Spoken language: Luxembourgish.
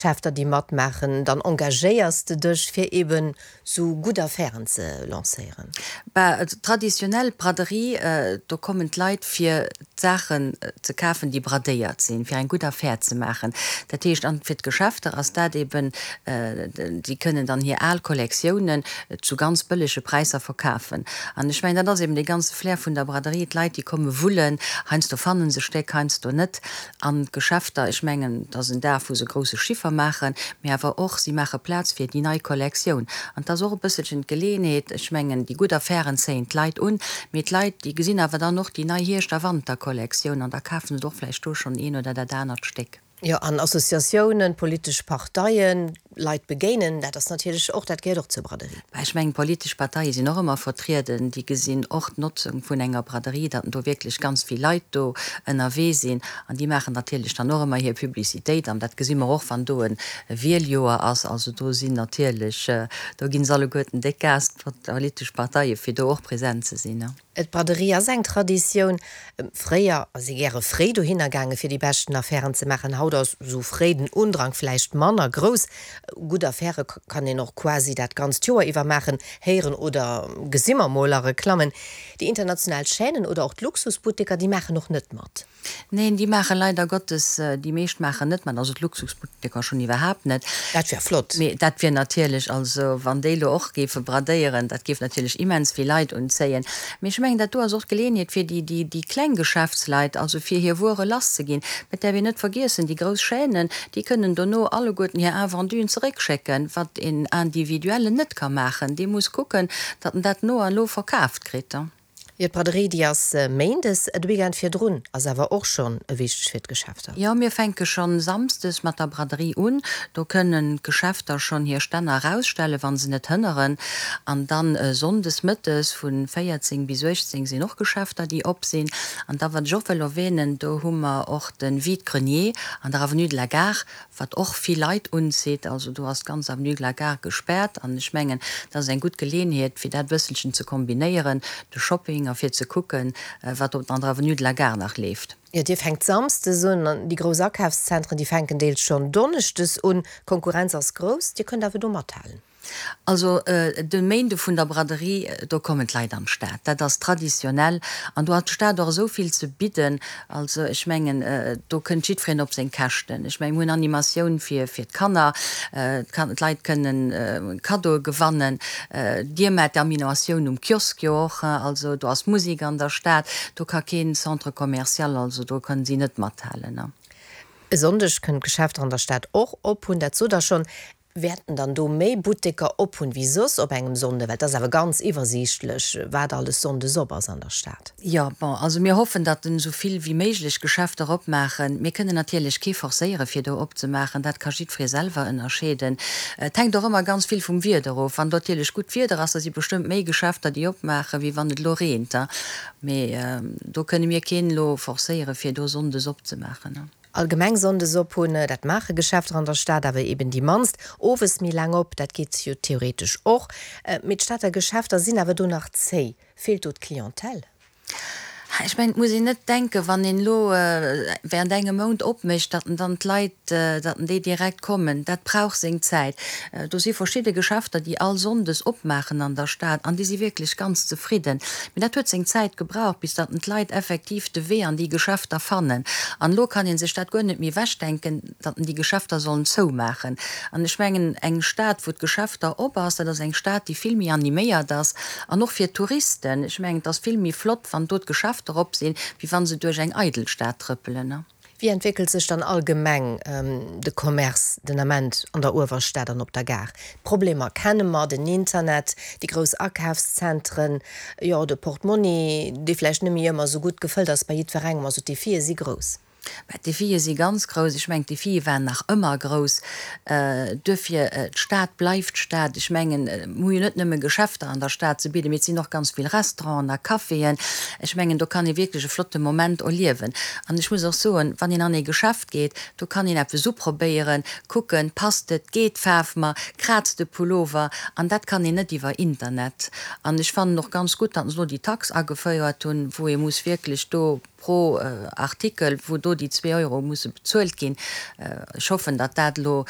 Geschäfter déi matmaachen, dann engagéiers de dech fir eben sou gutt Affären ze lancéieren. Bah, traditionell Braderie, do kommen d'Leit fir d'Saachen ze kafen déi bradéiert sinn, fir eng gutt Affär ze maachen. Dat heescht, an fir d'Geschäfter ass dat eben, déi kënnen dann hir al Kollektiounen zu ganz bëllege Präisser verkafen. An ech mengen, dat ass eben dee ganze Flair vun der Braderie, d'Leit déi komme wullen, heiansdo fanne se Stéck, heiansdo net. An d'Geschäfter, ech mengen, et ass en Dag, wou se grousse Chiffer maachen, mee awer och, si maache Plaz fir déi nei Kollektioun. An et ass och e bësselchen d'Geleeënheet, ech mengen, déi gutt Affären zéien d'Leit un, mee d'Leit, déi gesinn awer dann och déi nei Hierscht a Wanterkollektioun an da kafen se och vläicht do schonn een oder dat anert Stéck. Jo, an Associatiounen, politesch Parteien, Leit begéinen, dat ass natierlech och, dat gehéiert och zur Braderie. Bah, ech mengen, d'politesch Parteie sinn och ëmmer vertrieden. Déi gesinn och d'Notzung vun enger Braderie, datt do wierklech ganz vill Leit do ënnerwee sinn. An déi maachen natierlech dann och ëmmer hir Publicitéit. An dat gesi mer och, wann do e Wieljoer ass. Also do sinn natierlech, do ginn se alleguerten déck Gas, d'politesch Parteie, fir do och present ze sinn. D'Braderie ass eng Traditioun. Fréier ass ee gäre fréi dohinner gaange fir déi beschten Affären ze maachen. Haut ass esou fréi den Undrang vläicht manner grouss. Gutt Affäre kann een och quasi dat ganzt Joer iwwer maachen, héieren oder gesi mer mol a Reklammen. Déi international Chaînen oder och d'Luxusbutteker, déi maachen och net mat. Neen, déi maache leider Gottes, déi meescht maachen net mat, also d'Luxusbutteker schonn iwwerhaapt net. Dat wär flott. Mee dat wier natierlech, also wann déi elo och géife bradéieren, dat géif natierlech immens vill Leit unzéien. Mee ech mengen, dat do ass och d'Geleeënheet fir déi, déi, déi kleng Geschäftsleit, also fir hir Wuere lasszeginn. Et däerf een net vergiessen, déi grouss Chaînen, déi kënnen dono alleguerten hir Invenduen zeréckschécken, wat een Individuellen net ka maachen. Dee muss kucken, datt en dat no an no verkaaft kritt. Jo, d'Braderie, déi ass méindes. De Weekend virdrun ass awer och schonn wichteg fir d'Geschäfter. Jo, mir fänke schonn samsdes mat der Braderie un. Do kënnen d'Geschäfter schonn hir Stänner erausstellen, wa se net hënneren. An dann sonndes mëttes vu 14 bis 18 sinn och Geschäfter, déi op sinn. An da, wat ech och wëll erwänen, do hu mer och de Vide-grenier an der Avenue de la Gare, wat och vill Leit unzitt. Also do ass d'ganz Avenue de la Gare gespaart an ech mengen, dat ass eng gutt Geleeënheet, fir dat e bësselchen ze kombinéieren, de Shopping a fir ze kucken, wat op an der Avenue de la Gare nach leeft. Jo, Dir fänkt samsdes un an déi grouss Akafszentren, déi fänken deels schonn donneschdes un. D'Konkurrenz ass grouss, Dir kënnt awer do mathalen. Also de Méinde vun der Braderie, do kommen d'Leit an d'Stad. Dat ass traditionell an do hat d'Stad och esou vill ze bidden. Also ech mengen, do kënnt jiddwereen op seng Käschten. Ech mengen, mir hunn Animatioun fir fir d'Kanner, d'Leit kënnen Kaddoe gewannen. Dir maacht d'Animatioun um Kiosk jo och. Also do ass Musek an der Stad. Do ka keen Centre commercial, also do kënnen si net mathalen. E Sonndeg kënnen d'Geschäfter an der Stad och op hunn, dat sot Der schonn. Wäerten dann do méi Butteker op hunn wéi soss op engem Sonnde? Well et ass awer ganz iwwersiichtlech, wat alles sonndes op ass an der Stad. Jo, bon, also mir hoffen, datt en esou vill wéi méiglech Geschäfter opmaachen. Mir kënnen natierlech kee forcéiere fir do opzemaachen, dat ka jiddweree selwer ënnerscheeden. Et hänkt och ëmmer ganz vill vum Wieder of. Wann natierlech gutt Wieder ass, da si bestëmmt méi Geschäfter déi opmaachen, wéi wann et elo reent. Mee do kënne mir keen elo forcéiere fir do sonndes opzemaachen. Allgemeng Sonndes op hunn, dat maache Geschäfter an der Stad awer eben déi mannst. Owes méi laang op, dat geet jo theoretesch och. Mee d'Stater Geschäfter sinn awer do nach zéi. Feelt do d'Clientèle? Ech mengen, et muss een net denken, wann een elo während engem Mount opmécht, datt en dann d'Leit, datt en déi direkt kommen. Dat brauch seng Zäit. Do si verschidde Geschäfter, déi all Sonndes opmaachen an der Stad an déi si wierklech ganz zefridden. Mee dat huet seng Zäit gebraucht, bis datt d'Leit effektiv de Wee an déi Geschäfter fannen. An elo kann ee sech dat guer net méi ewechdenken, datt déi Geschäfter sollen zoumaachen. An ech mengen, eng Stad, wou d'Geschäfter op ass, dat ass eng Stad, déi vill méi animéiert ass. An och fir d'Touristen, ech mengen, et ass vill méi flott, wann do d'Geschäfter op sinn, wéi wa se duerch eng eidel Stad trëppelen. Wéi entwéckelt sech dann allgemeng de Commerce den Ament an der Uewerstad an op der Gare? D'Problemer kenne mer, den Internet, déi grouss Akafszentren, jo de Portmonni, dee vläicht net méi ëmmer esou gutt gefëllt ass bei jiddwerengem. Also d'Defie si grouss. Mä d'Defie si ganz grouss. Ech mengen, d'Defie waren nach ëmmer grouss. Duerfir, d'Stad bleift Stad. Ech mengen, mir hu jo net nëmme Geschäfter an der Stad ze bidden, mee et sinn och ganz vill Restauranten a Caféen. Ech mengen, do kann ee wierklech e flotte Moment erliewen. An ech muss och soen, wann een an ee Geschäft geet, do kann een eppes uprobéieren, kucken, passt et, geet d'Faarf mer, kraazt de Pullover. An dat kann een net iwwer Internet. An ech fannen och ganz gutt, datt se elo déi Tax agefouert hunn, wou ee muss wierklech do. Pro Artikel, wou do déi 2 Euro musse bezuelt ginn. Ech hoffen, datt dat elo.